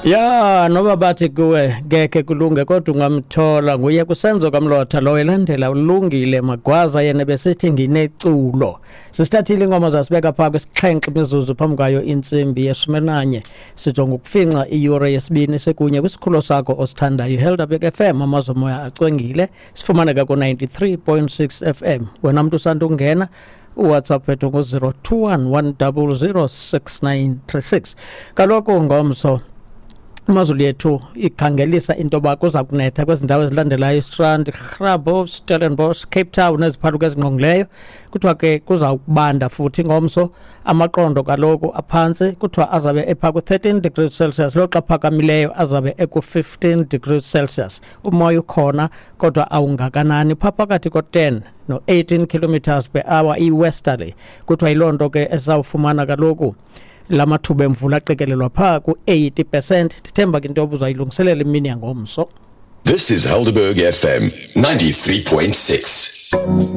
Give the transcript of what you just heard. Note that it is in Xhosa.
Ya, noba bathi kuwe ngekhe kulunge, kodwa ungamthola. Nguye kuSenzo kaMlotha lo, elandela uLungile Magwaza, yena besithi "Ngineculo". Sisithathile ingoma zasibeka phaa kwisixhenxe imizuzu phambi kwayo intsimbi yeshumi. Sijonga ukufinca iyure yesibini sekunye kwisikhulo sakho osithandayo, iHelderberg FM, amazomoya acwengile. Sifumaneka ku-93.6 FM. Wena mntu usanda ungena, uWhatsApp wethu ngu-021 100 6936. Kaloku ngomso imozulu yethu ikhangelisa into yoba kuza kunetha kwezi ndawo ezilandelayo: iStrand, Grabouw, Stellenbosch, Cape Town neziphaluka ezingqongileyo. Kuthiwa ke kuza kubanda futhi ngomso. Amaqondo kaloku aphantsi kuthiwa azabe ephaa ku-13 degrees Celsius, loxa aphakamileyo azabe eku-15 degrees Celsius. Umoya ukhona kodwa awungakanani, phaa phakathi ko-10 no-18 kilometers per hour, i-westerly. Kuthiwa yiloo nto ke esawufumana kaloku la mathuba emvula aqikelelwa phaa ku-80%. Ndithemba ke into yoba uzayilungiselela imini yangomso. This is Helderberg FM 93.6.